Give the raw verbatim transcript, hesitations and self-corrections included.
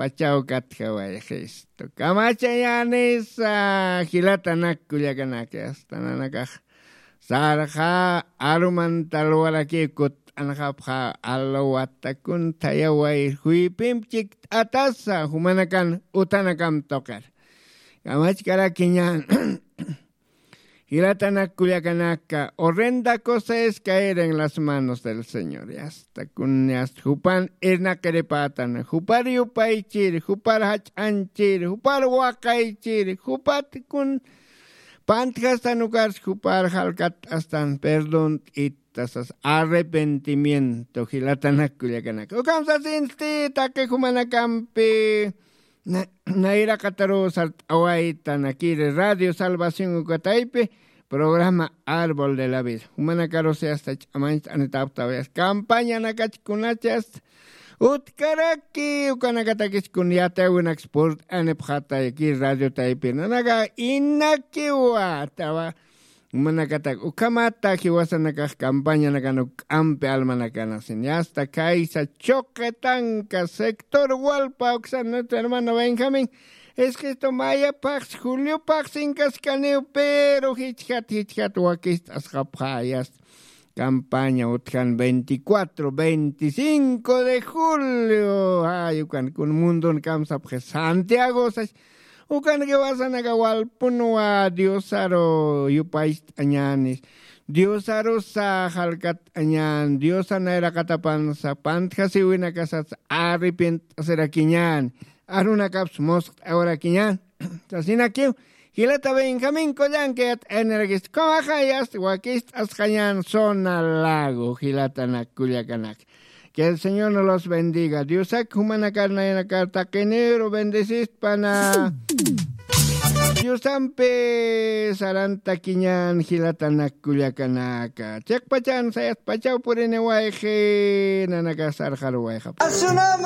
pachaw katjawayxistu. Kamachayänisa jilatanak kullakanaki, asta nanakax sarxa arumantalwarakiw kutt'anxapxa, alwatakun thayaway juypimp chikt'atasa jumanakan utanakam tuqir. Kamachkarakiñan. Jilatanak kullakanaka, horrenda cosa es caer en las manos del Señor. Yasta kun, yasta jupan irnaqiripätan, jupar yupaychir, jupar jach'anchir, jupar waqaychir, jupat kun pantjastan ukarsa, jupar jalkat astan perdón t'ittasas, arrepentimiento, jilatanak kullakanaka. Ukham sasinsti taqi jumanakampi, na-, nayraqataru sart'awaytanakiri Radio Salvación uka taypi, programa Árbol de la Vida. Jumanakarusi asta ch'amañcht'anitaptawayas. Campañanakach kunachas utkaraki, ukanakatakis kun yatiyäwinaks purt'anipxatayki radio taypi. Nanaka inakiwa, tawa. Jumanakatak ukhamata jiwasanakax campañanakan uk'ampi almanakanasin. Yasta kaysa Choquetanca, sector Hualpa, uksan nuestro hermano Benjamín. Es que esto mayaphax, juliopax inkaskaniw, pero jichhat, jichhat wakist'asxapxä, yasta. Campaña utjan veinticuatro, veinticinco de julio. Ay, ukan kun mundun kamsapxi Santiago, sas. Ukan jiwasanaka walpunwa Diosaru yupaycht'añänis. Diosarusa jalkat'añän. Diosa nayraqatapansa pantjasiwinakasas arrepient'asirakiñän. Arunakaps musqt'awarakiñän. Sasinakiw, jilata Benjamín Collanca yat'ayanirakist, ukhamaxa yasta wakist'asxañän zona lago, jilatanak kullakanak. Que el Señor nos los bendiga. Diosak jumanakar nayanakar taqiniru bendecistpana. Diosampi sarantakiñän jilatanak kullakanaka. Chiqpachan sayaspachaw puriniwayxi, nanakax sarxaruwayxapxi.